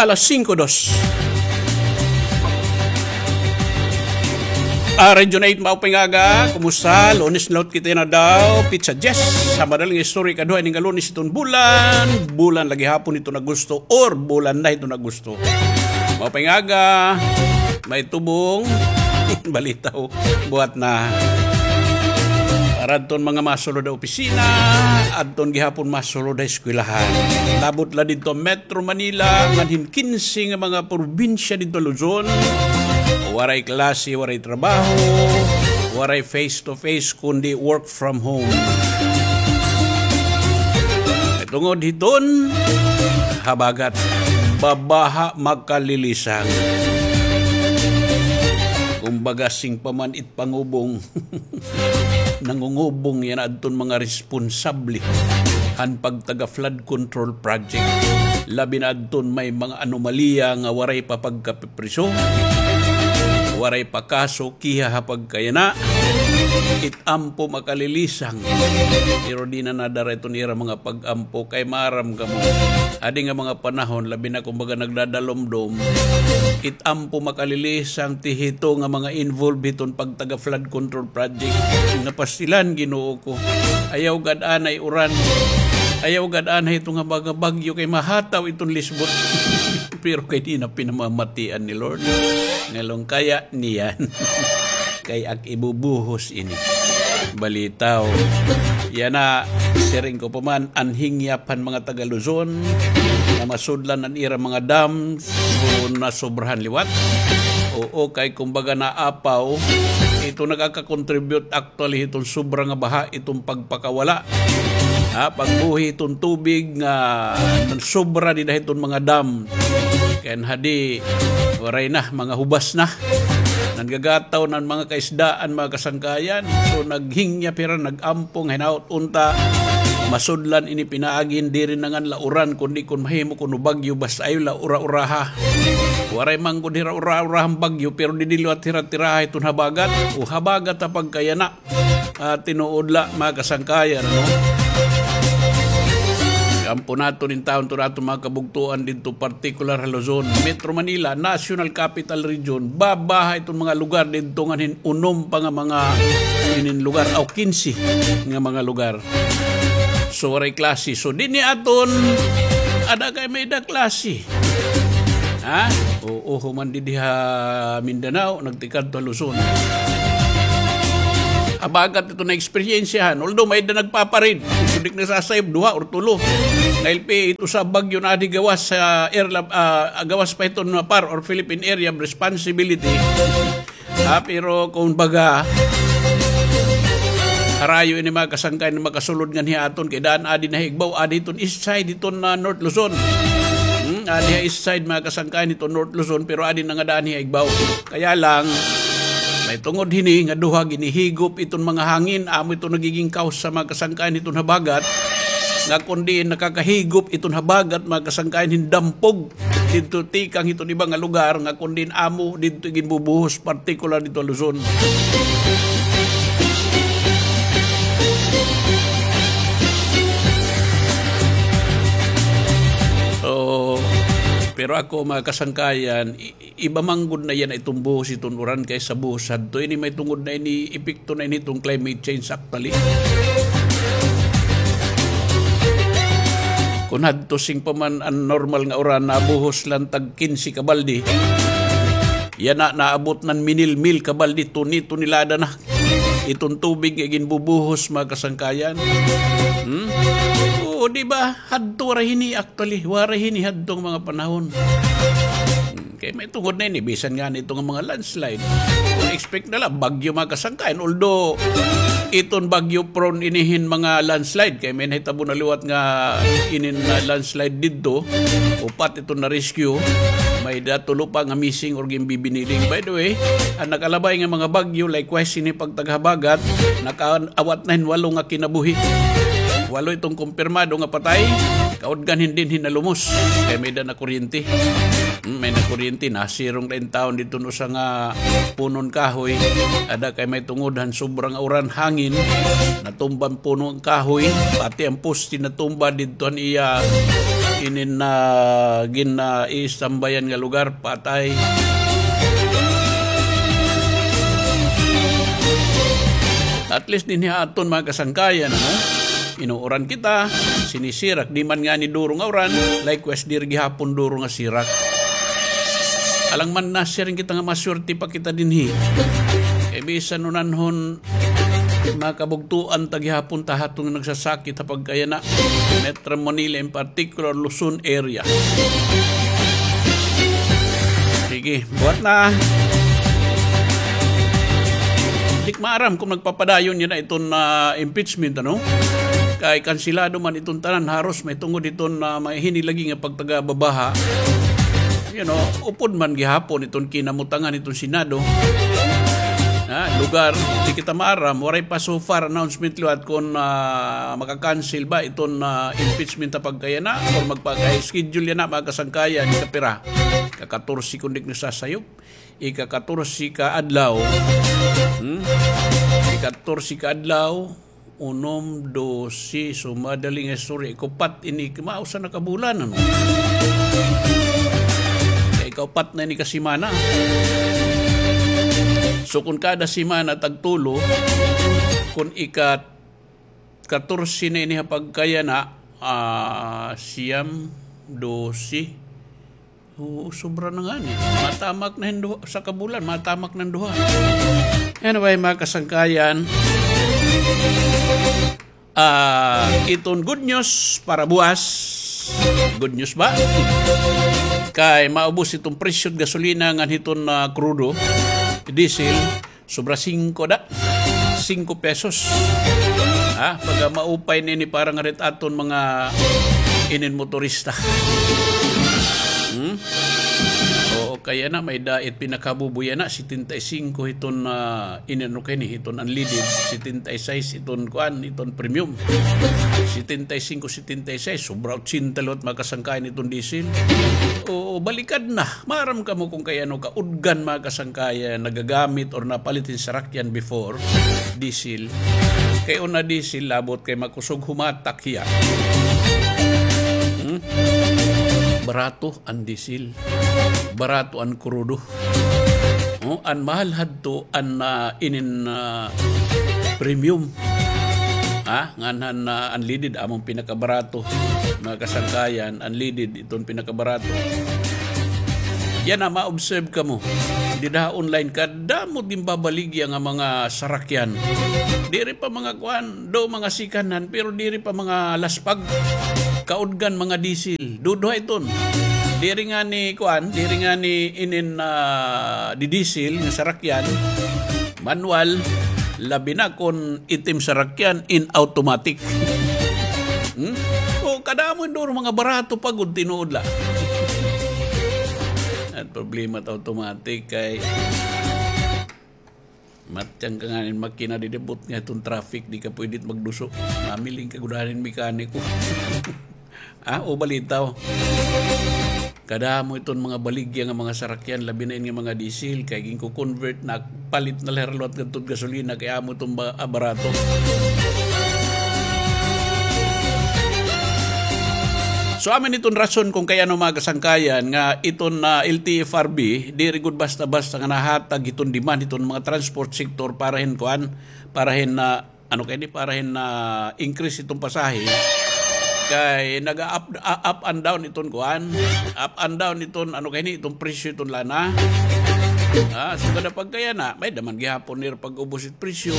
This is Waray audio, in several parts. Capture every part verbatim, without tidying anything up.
Alas singko dos. Ah, Region eight, maupay nga aga. Kumusta? Lunes na liwat kita yana daw. Pitsa diyes. Ha madaling istorya, ikaduha ini nga Lunes hiton bulan. Bulan la gihapon hiton Agosto or bulan na hiton Agosto. Maupay nga aga. May tubong. Balitaw. Buhat na. Para adton mga masulod ha opisina, adton gihapon masulod ha eskwelahan. Labot la didto Metro Manila, ngan hin kinse nga mga probinsya didto ha Luzon. Waray klase, waray trabaho, waray face to face, kundi work from home. Tungod hiton habagat, babaha makalilisang. Kumbaga, sing pa man it pangubong. Nangungubong yana adton mga responsable han pagtaga flood control project. Labi na adton may mga anomalya nga waray pa pagkapipriso, waray pa kaso, kiha ha pagkayana. It ampo makalilisang. Pero di na nadara iton ira mga pag-ampo kay maaram kamo. Adi nga mga panahon, labi na kumbaga nagdadalumdom, it ampo makalilisang ti hito nga mga involved hiton pagtaga flood control project. Napastilan, Ginoo ko. Ayaw gad anay uran. Ayaw gad anay ito nga mga bagyo kay mahataw iton lisbot. Pero kay di na pinamamatian ni Lord. Ngalong kaya niyan. Kay ak ibubuhos ini. Balitaw. Yana, siring ko pa man, an hingyap han mga taga Luzon nga masudlan an ira mga dam, so nasobrahan liwat. Oo, kay kumbaga naapaw, ito nagaka-contribute actually hiton sobra nga baha, iton pagpakawala. Ha, pagbuhi hiton tubig nga sobra dida hiton mga dam. Kay hadi, waray na, mga hubas na. Nanggagataw na an mga kaisdaan, mga kasangkayan. So, naghingyap hira, nag-ampong, hinaut unta. Masudlan ini pinaagi, diri na ngan la uran, kundi kon mahimo kuno bagyo, basta ayaw la ura-uraha. Waray man gud hira ura-urahan bagyo, pero didi liwat hira tiraha hiton habagat, o habagat ha pagkayana. Ah, tinuod la, mga kasangkayan, ano? Ampo naton intawon to naton mga kabugtoan didto, partikular ha Luzon, Metro Manila, National Capital Region, babaha iton mga lugar didto ngan hin unom pa nga mga inin lugar, aw, kinse nga mga lugar. So, waray klase. So, dinhi aton, ada kay may-ada klase. Ha? Oo, human didi ha Mindanao, nagtikadto ha Luzon. Habagat ito na eksperyensyahan. Although may-ada nagpaparid. Kundi nasasayop, duha or tulo. Dahil pi, ito sa bagyo na adi gawas sa air, ah, gawas pa ito na PAR or Philippine Area of Responsibility. Ah, pero kumbaga, harayo ini mga kasangkayan nga makasulod nganhi ha aton, kay daan adi na ha igbaw, adi hiton east side, hiton, ah, North Luzon. Hmm, adi ha east side, mga kasangkayan, hiton North Luzon, pero adi na nga daan ha igbaw. Kaya lang, may tungod hini nga duha ginihigop iton mga hangin, amo ito nagiging cause sa mga kasangkayan hiton habagat, nga kundi nakakahigop iton habagat, mga kasangkayan, hin dampog. Didto tikang hiton iba nga lugar nga kon diin amo didto ginbubuhos, partikular didto ha Luzon. So, pero ako, mga kasangkayan, i-, iba man gud na yana iton buhos hiton uran kaysa buhos hadto. Ini may tungod na ini, epekto na ini hiton climate change actually. Kon hadto sing pa man an normal nga uran, nabuhos la tag kinse ka balde. Yana, naabot na hin minil-mil ka balde, toni-, tonelada na iton tubig nga ginbubuhos, mga kasangkayan. Hmm? Oo, di ba? Hadto waray hini, actually, waray hini hadto nga mga panahon. Hmm, kay may tungod na ini, bisan ngani ito nga mga landslide. Kon expect na la, bagyo, mga kasangkayan. Although, iton bagyo prone ini hin mga landslide. Kay may nahitabo na liwat nga inin, ah, landslide didto. Upat iton na-rescue. May-ada tulo pa nga missing or ginbibiniling. By the way, an nakalabay nga mga bagyo, likewise, ini pagtaga habagat, nakaawat na hin walo nga kinabuhi. Walo iton kumpirmado nga patay, kaudgan hin dinhi nalumos. Kay may-ada nakuryente. Hmm, may nakuryente, nasirong la intawon didto hin usa nga punon kahoy. Ada kay may tungod han sobra nga uran, hangin, natumba an punon kahoy, pati an poste natumba didto han iya inin na gin-, ah, iistambayan nga lugar, patay. At least dinhi ha aton mga kasangkayan, ano? Inuuran kita, sinisirak, di man ngani duro nga uran, likewise, diri gihapon duro nga sirak. Alang man na siring kita nga maswerte pa kita dinhi. Kay bisan unanhon, makabugtuan ta gihapon ta ha aton nagsasakit ha pagkayana. Metro Manila in particular, Luzon area. Sige, buhat na. Di ko maaram kung nagpapadayon yana iton, ah, impeachment, ano? Kay kansilado man iton tanan, haros mahitungod iton, ah, may hini lagi nga pagtagababaha. You know, upod man gihapon iton kinamutangan iton Senado. Ha, lugar, di kita maaram, waray pa so far announcement liwat kon, ah, maka-cancel ba iton, ah, impeachment ha pagkayana or magpaka-schedule yana, mga kasangkayan, kapira. Ika-katorse kon di ko nasasayop. Ika-katorse ka adlaw. Hmm? Ika-katorse ka adlaw. Unom, dose, so madali nga istorya. Ikaupat ini, mausa na ka bulan, ano? Kay ikaupat na ini ka semana. So, kung kada semana tagtulo, kung ika-katorse na ini ha pagkayana, ah, siyam, dose, oo, sobra na ngani. Matamak na hin duha, usa ka bulan, matamak na hin duha. Anyway, mga kasangkayan, ah, iton good news para buwas. Good news ba? Kay maubos iton presyo gasolina ngan hiton, ah, krudo, diesel. Sobra singko da. Singko pesos. Ha? Pagka maupay na ini para ngada hit aton mga inin motorista. Hmm? Oo, kay yana, may-ada it pinakabubuy yana, setenta y cinco hiton, ah, inin, ano kay ini, hiton unleaded, setenta y seis hiton kuan, hiton premium. Setenta y cinco, setenta y seis, sobra otsenta liwat, mga kasangkayan, hiton diesel. Oo, balikad na. Maaram kamo kon kay ano kaudgan, mga kasangkayan, nagagamit or napalit hin sarakyan before, diesel. Kay una diesel, labot kay makusog humatak hiya. Hmm? Barato an diesel. Barato an krudo. Oh, an mahal hadto an, ah, inin, ah, premium. Ha? Ngan han, ah, unleaded, amon pinakabarato. Mga kasangkayan, unleaded, iton pinakabarato. Yana, ma-observe kamo. Dida ha online, kadamo ginbabaligya nga mga sarakyan. Diri pa mga kuan, do mga second hand, pero diri pa mga laspag. Kaudgan mga diesel. Duduha iton. Diri ngani kuan, diri ngani inin, ah, di-diesel nga sarakyan. Manual, labi na kon itim sarakyan in automatic. Hmm? O, kadamo duro mga barato pa gud tinuod la. An problema it automatic kay matyang ka ngani hin makina, didi butnga hiton traffic, di ka pwede magduso. Mamiling ka gud han mekaniko. Ah, o balitaw. Kadamo iton mga baligya nga mga sarakyan, labi na ini nga mga diesel, kay ginko-convert na, palit na la hira liwat ngadto hit gasolina, kay amo iton ba-, ah, barato. So, amo ini iton rason kon kay ano, mga kasangkayan, nga iton, ah, L T F R B, diri gud basta-basta nga nahatag iton demand iton mga transport sector para hin kuan, para hin, ah, ano kay ini, para hin, ah, increase iton pasahe. Kay naga-up, ah, up and down iton kuan, up and down iton, ano kay ini, iton presyo iton lana. Ah, so kada pagkayana, may-ada man gihapon nira pag-ubos it presyo.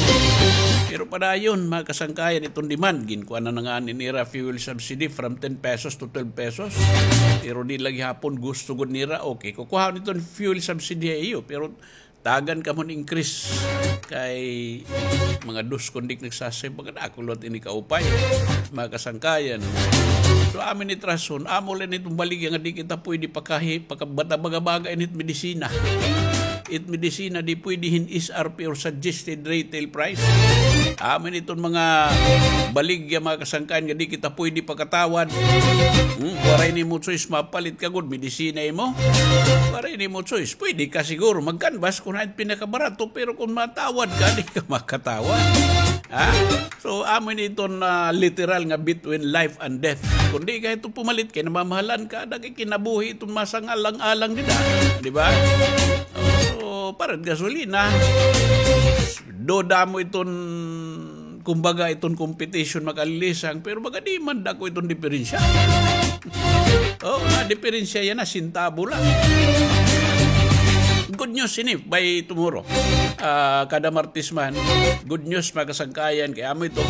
Pero padayon, mga kasangkayan, iton demand, ginkuan na ngani nira fuel subsidy from ten pesos to twelve pesos. Pero di la gihapon gusto gud nira, okay, kukuhaon iton fuel subsidy ha iyo, pero tagan kamo hin increase. Kay mga dos kon di ko nagsasayop, mga dako liwat ini kaupay, mga kasangkayan. So, amo ini it rason, amo la ini iton baligya nga di kita pwede pakahi-, pakabata-baga-baga ini it medisina. It medisina di pwede hin S R P or suggested retail price. Amo ini iton mga baligya, mga kasangkayan, nga di kita pwede pakatawad. Hmm? Waray nimo choice, mapalit ka gud, medisina imo. Waray nimo choice. Pwede ka siguro mag-canvas kon hain pinakabarato, pero kon matawad ka, di ka makatawad. Ha? So, amo ini iton, ah, literal nga between life and death. Kundi kay ito pumalit kay namamahalan ka, ada kay kinabuhi iton masangalang-alang dida, di ba? So, parad gasolina. Do damo iton, kumbaga, iton competition makalilisang, pero baga di man dako iton diferensya. Oh, na diferensya yana, sintabo lang. Good news ini by tomorrow. Ah, kada Martes man, good news, mga kasangkayan, kay amo ito,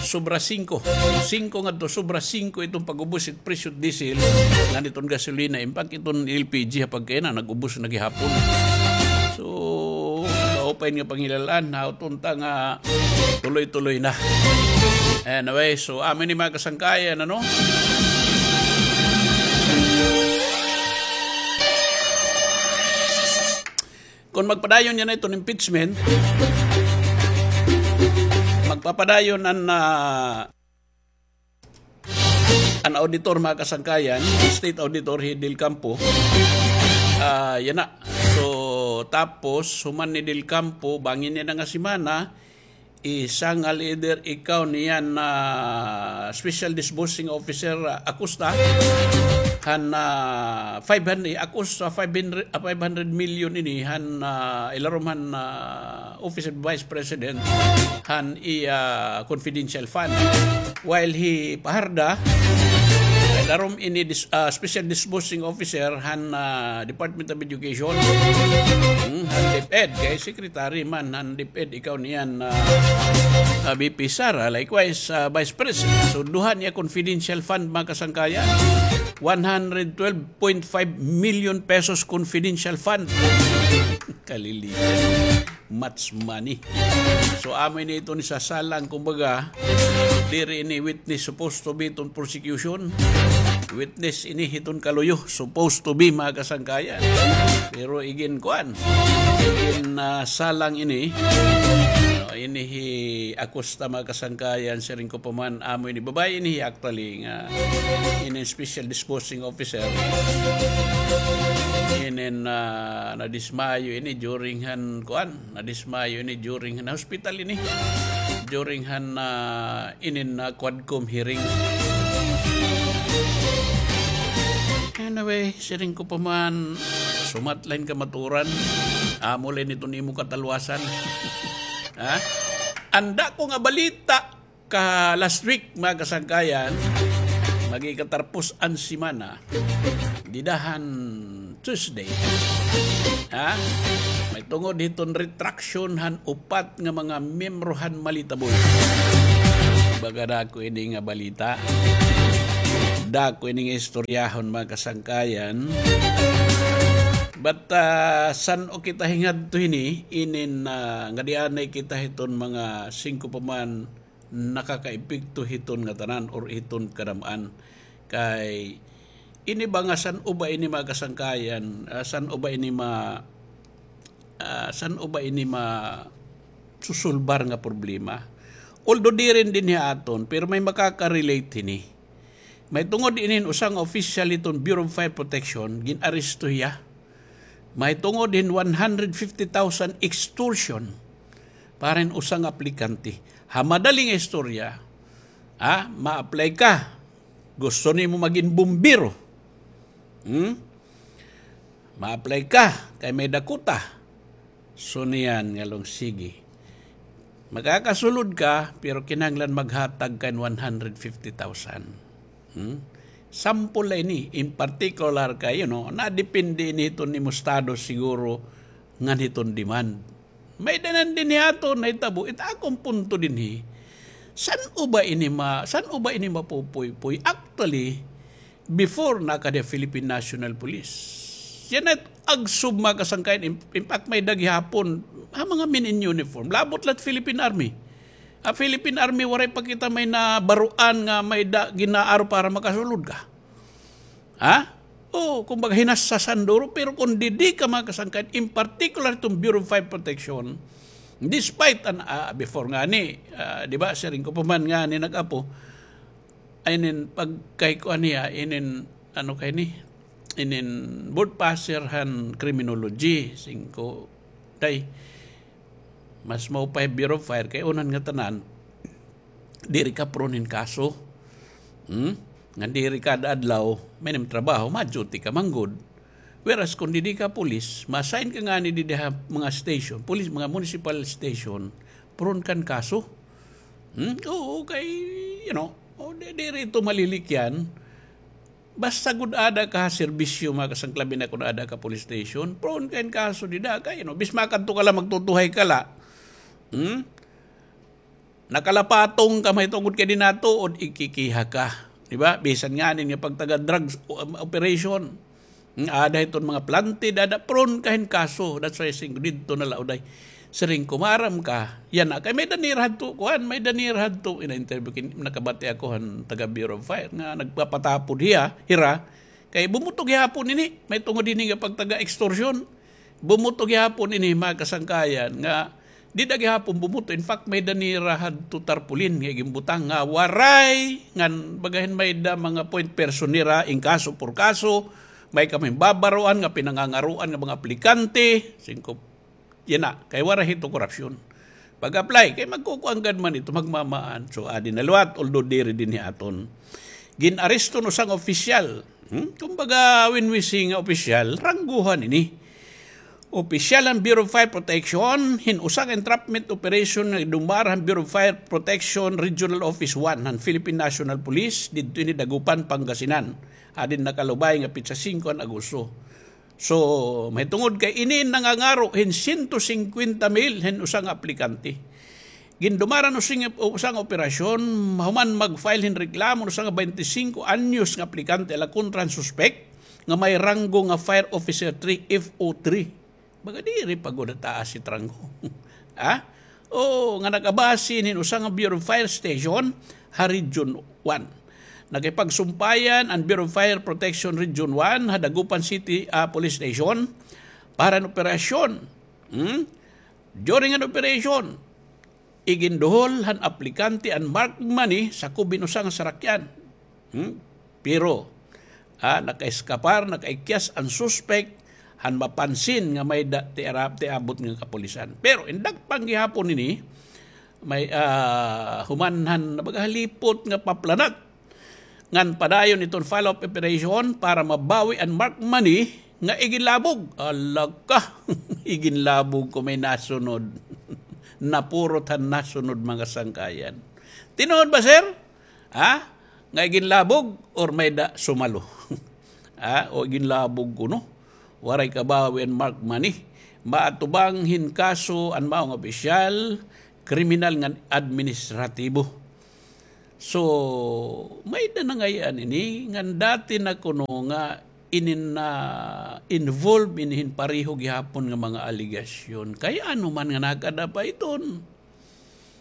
sobra singko. Singko ngadto, sobra singko iton pag-ubos it presyo diesel, ngan iton gasolina, in fact, iton L P G ha pagkaina, nag-ubos na gihapon. So, maupay nga panghilal-an, hauton ta nga tuloy-tuloy na. Anyway, so, amo ini, mga kasangkayan, ano? Kon magpadayon yana iton impeachment, magpapadayon an, ah, an auditor, mga kasangkayan, state auditor, hi Del Campo. Ah, yana. So, tapos, human ni Del Campo, bangin yana nga semana, isangal eder ikaw niyan na special disbursing officer, ah, Acosta, han, ah, five hundred, Acosta, five hundred, ah, five hundred million ini, han, ah, ilarom han, ah, Office of Vice President, han iya confidential fund. While hi Fajarda, ilarom ini dis-, ah, special disbursing officer, han, ah, Department of Education, hmm, han DepEd, kay secretary man han DepEd, ikaw niyan, ah, ah, V P Sara, likewise, ah, Vice President. So, duha niya confidential fund, mga kasangkayan. One hundred twelve point five million pesos confidential fund. Kalilitan. Much money. So, amo ini iton isasalang, kumbaga, diri ini witness supposed to be iton prosecution. Witness ini hiton kaluyo, supposed to be, mga kasangkayan. Pero igin kuan, igin, ah, salang ini. No, ini hi Acosta, mga kasangkayan, siring ko pa man, amo ini, babaye ini, actually, nga ini special disbursing officer. Inin, ah, nadismayo ini during han, kuan, nadismayo ini during han hospital ini. During han, ah, inin, ah, Quadcom hearing. Anyway, siring ko pa man, sumat la hin kamatuoran. Amo la ini iton imo katalwasan. Ha? An dako nga balita ka last week, mga kasangkayan, mag-ikatarpos an semana, dida han Tuesday. Ha? Mahitungod hiton retraction han upat nga mga miyembro han Malita Boys. Baga dako ini nga balita. Dako ini nga istoryahon, mga kasangkayan. But, ah, san-o kita hingadto hini, inin, ah, ngadi anay kita hiton mga singko pa man nakakaepekto hiton ngatanan or hiton kadam-an. Kay ini ba nga san-o ba ini, mga kasangkayan, ah, san-o ba ini ma-, ah, san-o ba ini masusulbar nga problema? Although diri dinhi ha aton, pero may makaka-relate hini. Mahitungod inin usa nga opisyal hiton Bureau of Fire Protection, gin-aresto hiya. Mahitungod hin one hundred fifty thousand extortion para hin usa nga aplikante. Ha madali nga istorya, ha, ma-apply ka. Gusto nimo magin bumbero. Hmm? Ma-apply ka kay may dakota. So niyan ngalong sige. Makakasulod ka, pero kinahanglan maghatag ka hin one hundred fifty thousand. Hmm? Sample la ini, in particular kay, you know, nadepende ini hiton imo estado siguro ngan hiton demand. May-ada nan dinhi aton nahitabo, it akon punto dinhi. San-o ba ini ma-, san-o ba ini mapupuypoy? Actually, before nakadi Philippine National Police. Yana it agsub, mga kasangkayan, in, in fact, may-ada gihapon ha mga men in uniform. Labot la it Philippine Army. Ha Philippine Army, waray pa kita may nabaruan nga may-ada gin-aaro para makasulod ka. Ha? O, kumbaga, hinassasan duro, pero kon didi ka, mga kasangkayan, in particular iton Bureau of Fire Protection, despite an, ah, before ngani, ah, di ba, siring ko pa man ngani nag-apo, inin pagkay kuan niya, inin, ano kay ni, inin board passer han criminology, singko, day, mas maupay Bureau of Fire kay unan ngatanan, diri ka prone hin kaso. Hmm? Ngan diri kada adlaw, may nimo trabaho, ma-duty ka man gud. Whereas, kung didi ka pulis, ma-assign ka ngani didi ha mga station, pulis, mga municipal station, prone kan kaso. Hmm? Oo, kay, you know, o, di, diri ito malilikyan. Basta gud ada ka ha serbisyo, mga kasangkayan, labi na kun ada ka police station, prone kan kaso dida kay, you know, bis makadto ka la, magtutuhay ka la. Hmm? Nakalapatong ka, mahitungod kay dinatuod, ikikiha ka. Di ba? Bisan ngani nga pagtaga drugs, um, operation. Nga ada hiton mga planted, ada prone ka hin kaso. That's why siring ko didto na la uday. Siring ko maaram ka. Yana, kay may-ada nira hadto, kuan, may-ada nira hadto. Ina-interview kin-, nakabati ako han taga Bureau of Fire nga nagpapatapod hiya, hira. Kay bumuto gihapon ini, mahitungod hini nga pagtaga extortion. Bumuto gihapon ini, mga kasangkayan, nga dida gihapon bumuto. In fact, may-ada nira hadto tarpaulin nga iginbutang nga waray, ngan baga hin may-ada mga point person nira, in kaso por kaso, may kami babaroan nga pinangangaroan nga mga aplikante, siring ko, yana, kay waray hito korupsyon. Pag-apply, kay magkukuan gad man ito, magmamaan. So, adi na liwat, although diri dinhi aton. Gin-aresto hin usa nga opisyal. Hmm? Kumbaga, when we say nga opisyal, rangguhan ini. Opisyal han Bureau of Fire Protection, hin usa nga entrapment operation nga gindumara han Bureau of Fire Protection Regional Office one han Philippine National Police, didto ini Dagupan, Pangasinan. Adi nakalubay nga petsa singko han Agosto. So, mahitungod kay ini nangangaro hin sento singkwenta mil hin usa nga aplikante. Gindumara hin usa nga, usa nga operasyon, mahuman mag-file hin reklamo hin usa nga baynte singko anyos nga aplikante ala kontra han suspek nga may ranggo nga Fire Officer three, F O three. Baga diri pa gud taas it ranggo. Ha? O, nga nag-abase hin usa nga Bureau of Fire Station ha Region one. Nakipagsumpayan an Bureau of Fire Protection Region one ha Dagupan City, ah, Police Station para hin operasyon. Hmm? During an operation, iginduhol han aplikante an marked money sakob hin usa nga sarakyan. Hmm? Pero, ah, nakaeskapar, nakaikyas an suspek han mapansin nga may-ada ti ara-, ti abot nga kapulisan. Pero in dakpan gihapon ini, may, ah, human han, baga, halipot nga paplanak ngan padayon iton follow-up operation para mabawi an marked money nga iginlabog. Ala ka, iginlabog ko may nasunod. Napurot han nasunod, mga sangkayan. Tinuod ba, sir? Ha? Nga iginlabog or may-ada sumalo? Ha? O iginlabog kuno? Waray kabawi an marked money. Maatubang hin kaso an mao nga opisyal, kriminal ngan administratibo. So, may-ada na ngay-an ini, ngan dati na kuno nga inin na-involve ini hin pareho gihapon nga mga alegasyon. Kay ano man nga nakada pa iton.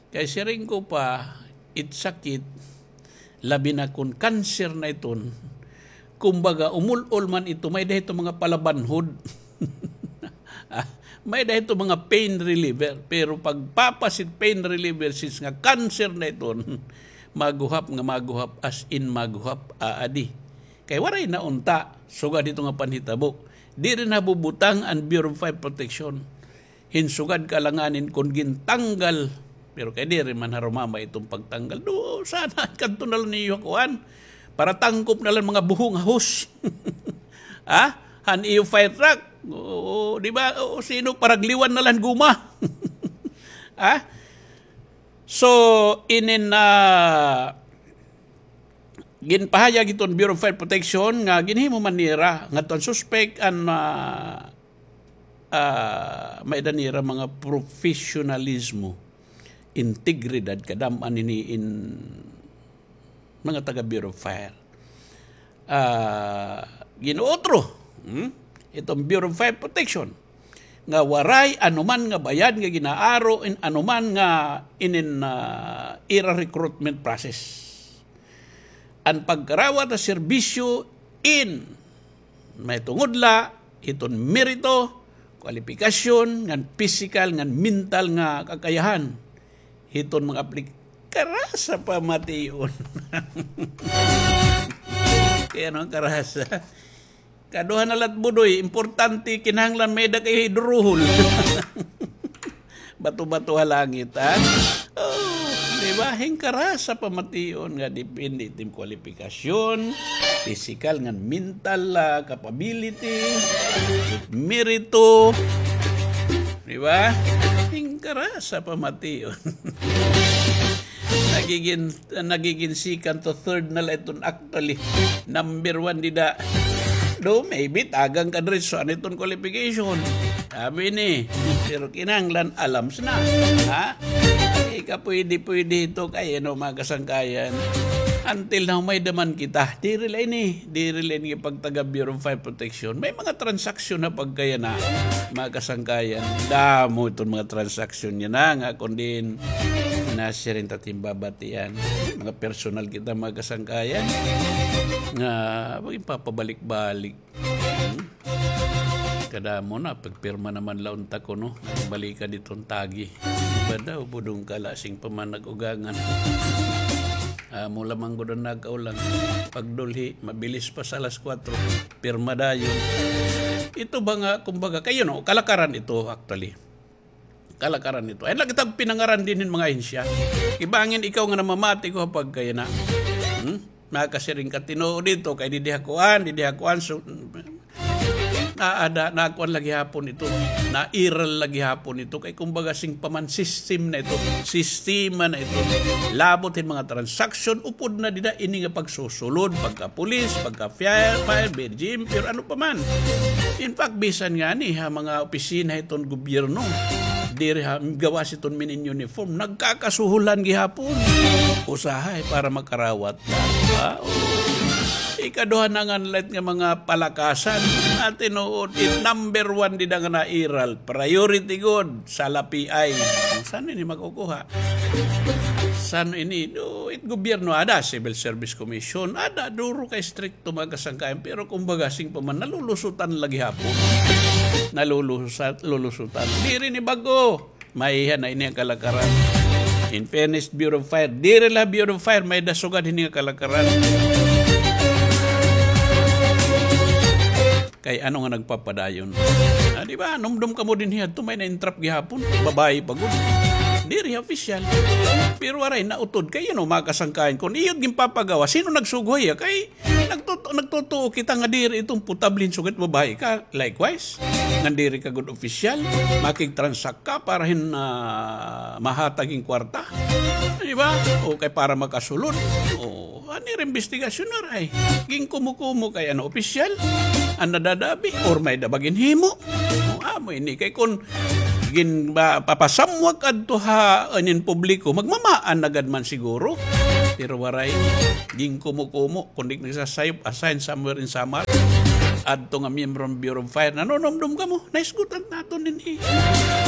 Kay siring ko pa, it sakit, labi na kon cancer na iton. Kumbaga, umul-ol man ito, may-ada ito mga palabanhod. Ah, may-ada ito mga pain reliever, pero pagpapas it pain reliever, since nga cancer na iton, maguhap nga maguhap, as in maguhap, aadi. Kay waray na unta, sugad hito nga panhitabo. Diri na bubutang an Bureau of Fire Protection. Hin sugad kaalanganin kon gintanggal. Pero kay diri man harumamay iton pagtanggal. Do, sana kadto na la niyo kuan. Para tangkop na la mga buho nga hose. Ha? Han iyo fire truck. Oo, di ba? O, sino, paragliwan na la han guma. Ha? So, inin, ah, ginpahayag iton Bureau of Fire Protection nga ginhimo man nira ngadto an suspek an, ah, ah, may-ada nira mga professionalismo, integridad, kadam-an ini in mga taga Bureau of Fire. Ah, gin-uutro, hmm? Iton Bureau of Fire Protection nga waray anoman nga bayad nga gin-aaro in anoman nga inin, ah, ira recruitment process. An pagkarawat ha serbisyo in mahitungod la hiton merito, kwalipikasyon, ngan pisikal, ngan mental nga kakayahan hiton mga aplik-, karasa pamation. Kay ano an karasa? Kaduha na la it budoy, importante, kinahanglan may-ada kay duruhol. Bato-bato ha langit, ha? Oh, di Di ba? Hingkara sa pamation nga depende it im kwalipikasyon, pisikal ngan mental, ah, capability, it merito. Di ba? Hingkara sa pamation. Nagigin, nagigin second to third na la iton actually. Number one dida. Do, maybe, tagan ka diretso, ano iton qualification? Sabi ni, pero kinahanglan alams na. Ha? Ika pwede-pwede ito kay, ano, mga kasangkayan. Until now, may daman kita. Diri la ini, diri la ini pagtaga Bureau of Fire Protection. May mga transaksyon na pagkayana, mga kasangkayan. Damo iton mga transaksyon niya na nga, kundi nasiring ta timbabatian. Mga personal kita, mga kasangkayan. Nga, pagpapabalik-balik. Hmm? Kadamo na, pagpirma naman la unta kuno. Balikan iton tagi. Ba daw, budong ka la, sing pa man nag-ugangan. Amo lamang gud an nakaulang. Pagdulhi, mabilis pa sa alas kwatro. Pirma dayon. Ito ba nga, kumbaga, kayo no, kalakaran ito, actually. Kalakaran ito. Ay, lagi tag pinangaran din hin mga ahensya. Ibangin ikaw nga namamati ko pag kaya na. Hmm? Nakasiring ka tinuod dito, kay didi ha kuan, didi ha kuan, so, naada, nakuan lagi hapon ito, nairal lagi hapon ito, kay kumbaga sing paman system na ito, sistema na ito, labot hin mga transaksyon, upod na dida ini nga pagsusulod, pagka-police, pagka-fire, fire, B G M, pero ano pa man. In fact, bisan nga ni ha mga opisina hiton gobyerno, diri ha, gawas hiton mini-uniform, nagkakasuhulan gihapon. Usahay para makarawat. Ah, oo. Ikaduha na nga light nga mga palakasan. Tinuod, it number one dida nga nairal. Priority gud, salapi ay. San ini makukuha? San ini? Do, it gobyerno, ada, Civil Service Commission, ada, duro kay strikto mga kasangkayan. Pero kumbaga, sing pa man, nalulusutan lagi hapon. Nalulusutan, lulusutan. Diri ni bago. Maiha na ini nga kalakaran. In fairness, Bureau of Fire. Diri la Bureau of Fire, may dasugad hini nga kalakaran. Kay ano nga nagpapadayon? Ah, di ba? Numdom kamo dinhi adto, may na-entrap gihapon. Babayi pa gud. Diri opisyal. Pero waray nautod. Kay, you know, mga kasangkayan, kun iyo it ginpapagawas, sino nagsugo hiya? Kay nagtutu-, nagtutuo kita nga diri iton potable hin sugad babayi ka. Likewise, ngan diri ka gud opisyal, makigtransak ka para hin, ah, mahatag hin kwarta. Di ba? O kay para makasulod. O, ano it imbestigasyon na ray? Ginkumo-kumo kay ano, opisyal? An nadadabi? Or may-ada ba ginhimo? O, amo ini. Kay kun gin-, ba, papasamwak adto ha, anin publiko, magmamaan na gad man siguro. Pero waray, ginkumo-kumo, kundi nagsasayop, assign somewhere in Samar. Adto nga miyembro hin Bureau of Fire, nanunumdom kamo, naisgutan naton dinhi.